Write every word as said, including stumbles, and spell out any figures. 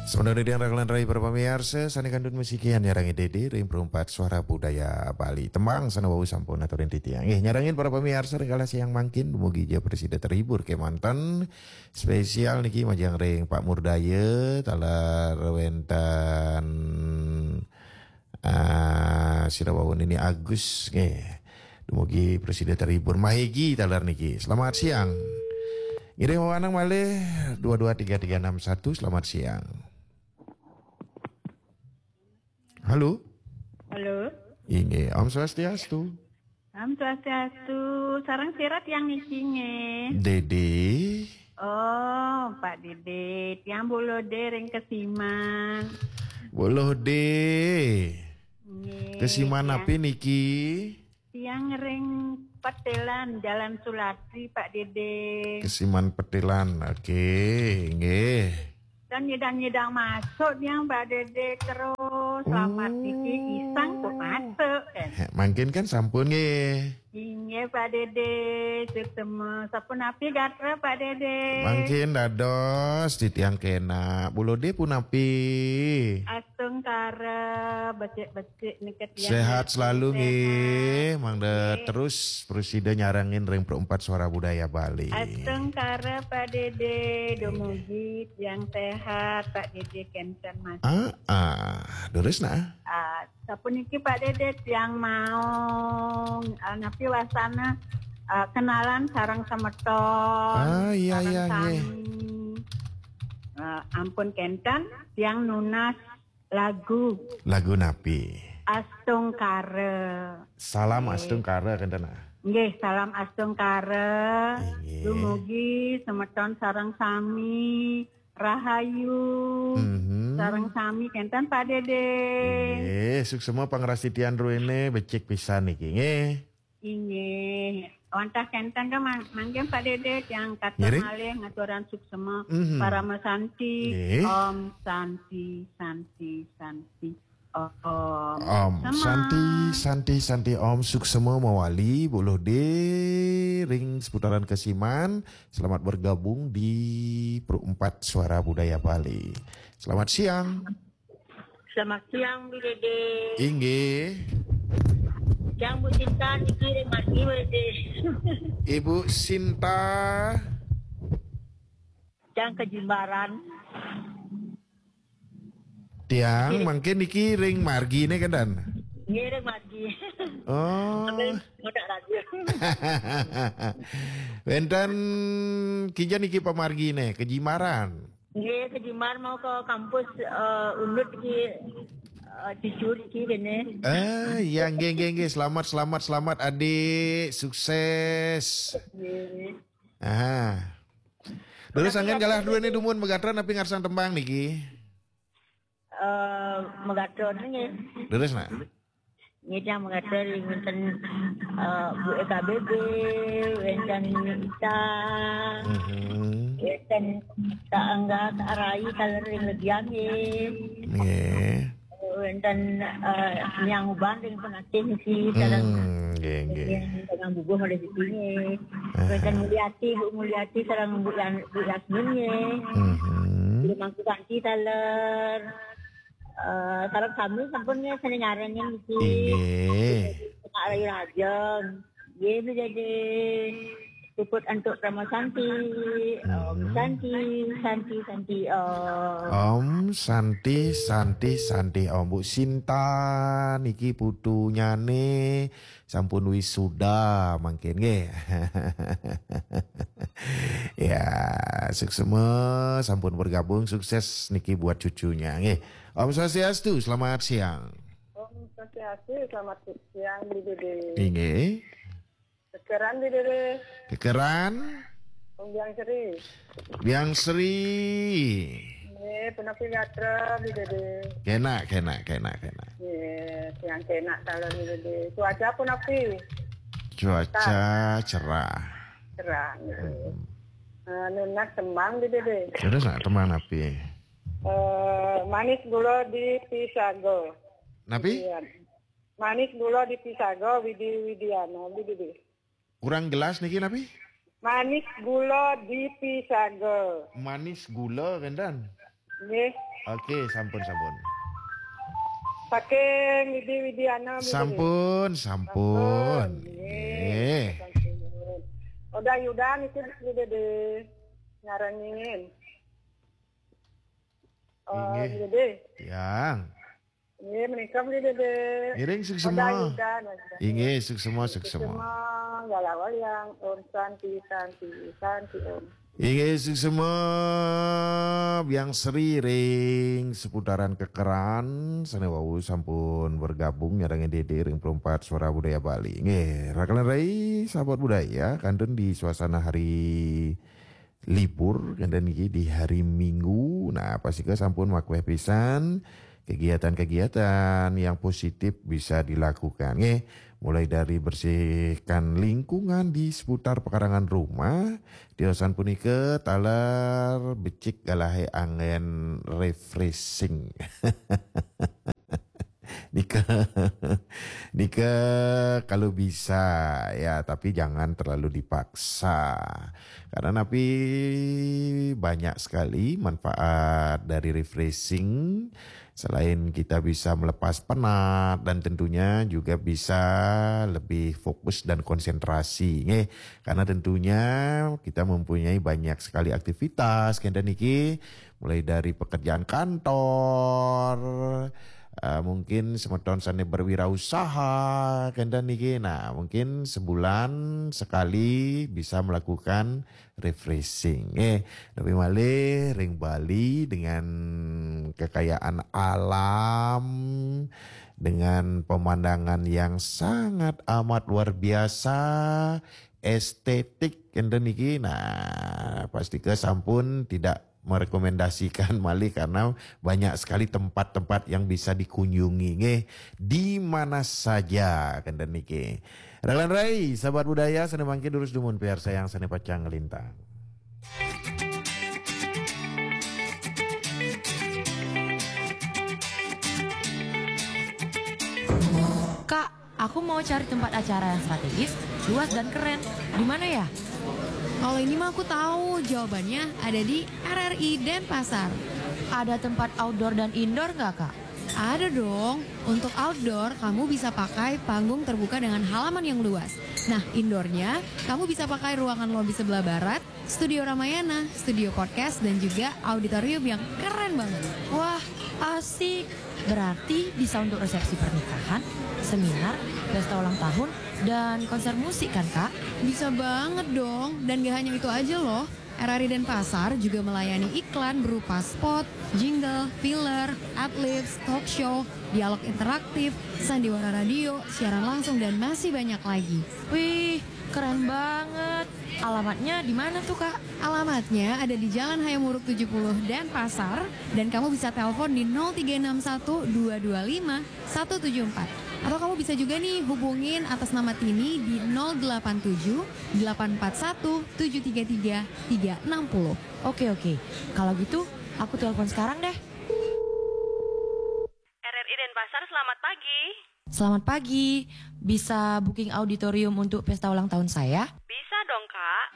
Sementara di rangkalan rai para pamiarsa, sane kantun musikian nyarangi Dede ring Perumpat Suara Budaya Bali. Tembang sane wau sampun aturin titiang. Nggih, nyarangin para pamiarsa ring kala siang mangkin, dumugi ja prasida terhibur kemanten. Spesial niki majeng ring Pak Murdaya, taler wenten, ah, sira wau niki Agus, nggih. Dumugi prasida terhibur. Mahegi taler niki. Selamat siang. Ngiring wewenang malih dua dua tiga tiga enam satu. Selamat siang. Halo. Halo. Inggih, Om Swastiastu. Om Swastiastu. Sareng sira tiang niki nggih. Dede. Oh, Pak Dede, tiang Bu Lode ring Kesiman. Bu Lode. Nggih, Kesiman tiang napi niki? Tiang ring Petilan, Jalan Sulatri, Pak Dede. Kesiman Petilan. Oke, nggih. Dan nyidang-nyidang masuk tiang, Pak Dede, terus. Selamat Oh. Niki, isang kok masuk, kan? He, mangkin kan sampun, nggih. Inggih, Pak Dede, suksema. Sapunapi gatra, Pak Dede? Mangkin dados titiang kenak. Bu Lode punapi? Astungkara, becik-becik niki tiang. Sehat selalu, sehat. Nggih. Mangda terus prasida nyarengin ring Perumpat Suara Budaya Bali. Astungkara, Pak Dede, dumugi tiang sehat, Pak Dede kenten, Mas. Ah, ah, leres nah. Ah, sapuniki, Pak Dede, tiang mau, ah, napi wasana, ah, kenalan sareng semeton. Ah, iya, sareng iya, nggih. Sami. Ah, ampun kenten, tiang nunas lagu. Lagu napi? Astungkara. Salam Nggih. Astungkara kenten, ah. Nggih, salam astungkara. Inggih. Dumugi semeton sareng sami rahayu. Mhm. Sareng sami kenten, Pak Dede. Inggih, suksema pangrastitian druene, becik pisan niki, nggih. Inggih. Wantah kenten ka mang-, mangkin, Pak Dede, tiang katur Ngiring? Malih ngaturan suksema, mhm, parama santi. Nggih. Om Santi, Santi, Santi. Om Om Sema. Santi, Santi, Santi Om, suksema mawali, Bu Lode ring seputaran Kesiman. Selamat bergabung di Perumpat Suara Budaya Bali. Selamat siang. Selamat siang, Bu Dede. Inggih. Yang Bu Sinta niki ring Margi, Bu Dede. Ibu Sinta. Yang Kejimbaran. Tiang, nggih, mangkin niki ring Margi ne, kenten? Nggih, ring Margi. Oh. Sambil ngodak radio. Wenten kija niki pamargi ne, Kejimbaran? Nggih, Kejimbaran mau ke kampus, eh, Unut ki, eh, cucu ki kene. Eh, ya, nggih, nggih, nggih. Selamat, selamat, selamat, Adik. Sukses. Nggih. Ah. Terus, tapi anggen ya, galah dua ni dumun magatra napi ngarsang tembang niki? Eh, magatra nggih. Leres, nak? Nggih, tiang magatra ring wenten, eh, Bu Eka Bebe, wenten Ita, mhm, wenten Kak Angga, Kak Rai, taler ring Legian nggih. Nggih. Wenten, eh, Niang Uban ring Penatih niki, sareng, hmm, nggih, nggih, sareng Bubuh malih siki nggih. Aha. Wenten Mulyati, Bu Mulyati, sareng Bu Yan-, Bu Yasmin nggih. Mhm. Guru Mangku Santi taler. Eh, sareng sami sampun nggih sane nyarengin niki. Inggih. Pak Rayu Rajeng. Nggih, Bu Dede. Puput antuk Parama Santi. Om, hmm, Santi, Santi, Santi, Om. Om Santi, Santi, Santi, Om. Bu Sinta niki putunyane sampun wisuda mangkin nggih. Ya, suksema sampun bergabung, sukses niki buat cucunya nggih. Om Swastiastu, selamat siang. Om Swastiastu, selamat siang, Bu Dede. Inggih. Kekeran, Bu Dede. Kekeran? Om Biang Sri. Biang Sri. Nggih, punapi gatra, Bu Dede? Kenak, kenak, kenak, kenak. Nggih, tiang kenak taler, Bu Dede. Cuaca punapi? Cuaca cerah. Cerah, nggih. Hmm. Eh, nunas tembang, Bu Dede. Terus nak tembang napi? Eh, Manis Gula di Pisaga. Napi? Iya. Manis Gula di Pisaga, Widi Widiana, Bu Dede. Kurang jelas niki napi? Manis Gula di Pisaga. Manis Gula, kenten? Nggih. Oke, sampun, sampun. Saking Widi Widiana. Sampun, sampun. Nggih. Oda Yudan itu di Dede nyarengin. Oh, Inggih. Dede. Tiang. Nggih, menika beli Dede. Ngiring Oda suksema. Yudan. Inggih, suksema, suksema. Semua galawal yang Om Santi, Santi, Santi Om. Inggih, suksema Biang Sri ring seputaran Kekeran sane wau sampun bergabung nyarengin Dede ring Perempat Suara Budaya Bali. Nggih, rakan rai sahabat budaya, kantun di suasana hari libur, kantun niki di hari Minggu. Nah, pastika sampun makweh pisan kegiatan-kegiatan yang positif bisa dilakukan. Nggih, mulai dari bersihkan lingkungan di seputar pekarangan rumah, tiosan punika taler becik galahe anggen refreshing. Nika, nika kalau bisa ya, tapi jangan terlalu dipaksa. Karena napi banyak sekali manfaat dari refreshing. Selain kita bisa melepas penat dan tentunya juga bisa lebih fokus dan konsentrasi, nggih. Karena tentunya kita mempunyai banyak sekali aktivitas kenten niki, mulai dari pekerjaan kantor, eh, mungkin semeton sane berwirausaha kenten niki. Nah, mungkin sebulan sekali bisa melakukan refreshing. Eh, lebih malih ring Bali dengan kekayaan alam, dengan pemandangan yang sangat amat luar biasa, estetik kenten niki. Nah, pastika sampun tidak merekomendasikan malih karena banyak sekali tempat-tempat yang bisa dikunjungi, nggih, di mana saja kenten niki. Rakan rai, sahabat budaya, sane mangkin durus dumun piarsayang sane pacang nglintang. Kak, aku mau cari tempat acara yang strategis, luas dan keren. Di mana ya? Kalau ini mah aku tahu, jawabannya ada di R R I Denpasar. Ada tempat outdoor dan indoor nggak, Kak? Ada dong. Untuk outdoor, kamu bisa pakai panggung terbuka dengan halaman yang luas. Nah, indoornya, kamu bisa pakai ruangan lobi sebelah barat, studio Ramayana, studio podcast, dan juga auditorium yang keren banget. Wah, asik. Berarti bisa untuk resepsi pernikahan, seminar, pesta ulang tahun, dan konser musik kan, Kak? Bisa banget dong. Dan gak hanya itu aja loh. R R I Denpasar juga melayani iklan berupa spot, jingle, filler, adlibs, talk show, dialog interaktif, sandiwara radio, siaran langsung, dan masih banyak lagi. Wih, keren banget. Alamatnya di mana tuh, Kak? Alamatnya ada di Jalan Hayam Wuruk tujuh puluh Denpasar, dan kamu bisa telepon di nol tiga enam satu dua dua lima satu tujuh empat. Atau kamu bisa juga nih hubungin atas nama Tini di nol delapan tujuh delapan empat satu tujuh tiga tiga tiga enam nol. Oke, oke. Kalau gitu, aku telepon sekarang deh. R R I Denpasar, selamat pagi. Selamat pagi. Bisa booking auditorium untuk pesta ulang tahun saya? Bisa dong, Kak.